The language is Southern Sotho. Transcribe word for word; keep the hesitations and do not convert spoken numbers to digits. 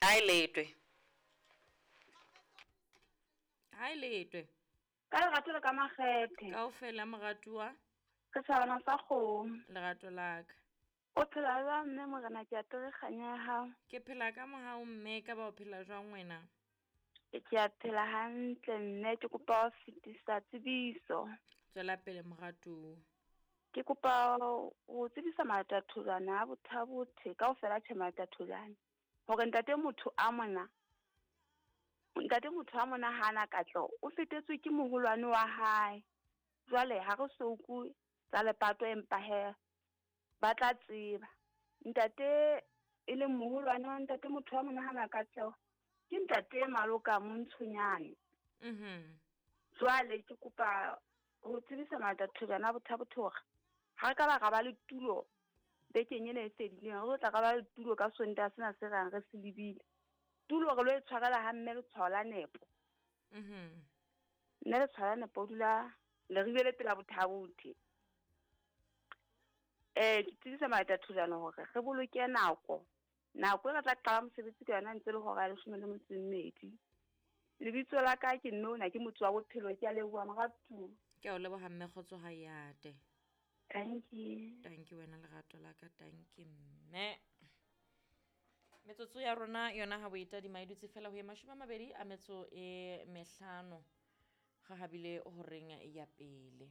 Hae letwe. Hae letwe. Ka lerato le ka makgethe. Kaofela moratuwa. Re tjhabana sa kgomo. Lerato la ka. O phela jwang mme morena ke apere kganya ya hao? Ke phela ka mohau mme ka ba o phela jwang wena? Ke a phela hantle mme ke kopa ho fetisa tsebiso. Tswela pele moratuwa. Ke kopa ho tsebisa Matatholwana a Bothabothe kaofela tjhe Matatholwana hore ntate motho a mona ntate motho a mona hana katleho o fetetswe ke moholwane wa hae. Jwale ha re so utlwe tsa lepato empa he ba tla tseba. Ntate e leng moholwane wa ntate motho a mona hana katleho ke ntate Maloka Montshonyane. Mhm. Jwale ke kopa ho tsebisa Matatholwana a Bothabothe hore ha re ka ba ra ba le tulo bekeng ena e fedileng, re tla ra ba le tulo ka Sontaha sena se rang re se lebile. Tulo re lo e tshwarela ha mme letshwao la nepo. Mhm. Mme letshwao la nepo o dula Leribe le pela Bothabothe. Eh ke tsebisa Matatholwana hore re boloke nako. Nako e re tla qala mosebetsi ka yona ntse le hora ya leshome le metso e mmedi. Lebitso la ka ke Nona, ke motho wa bophelo, ke a leboha moratuwa. Ke a o leboha mme kgotso ha e ate. Thank you. Thank you wena lerato la ka, thank you mme. Metsotso ya rona yona ha bo e tadima e dutse fela ho ye mashome a mabedi a metso e mehlano. Ga habile horeng ya pele.